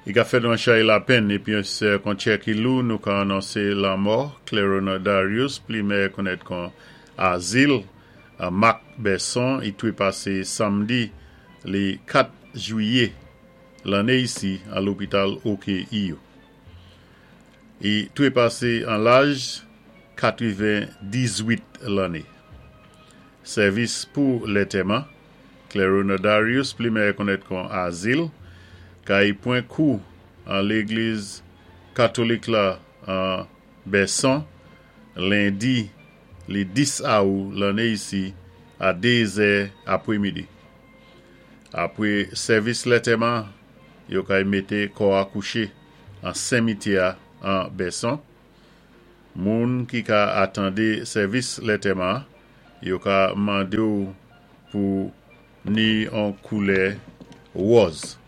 I ka fè nou an chay lapenn épi kon tjè ki lou, nou ka anonsé lanmò Clerona Darius, pli mèyè konnèt kon Azil, an Mak Bèson. I twépasé sanmdi li 4 jwiyé lanné isi an lopital OKEU. I twépasé an laj 98 lanné. Sèvis pou lètèman Clerona Darius, pli mèyè konnèt kon Azil, kay pwan kou an légliz katolik la an Bèson lendi li 10 awou lanné isi a 2 zè apwémidi. Apwé sèvis lètèman, yo kay mété kò-a kouché an senmityè-a an Bèson. Moun ki ka atandé sèvis lètèman, yo ka mandé-w pou ni an koulè wòz.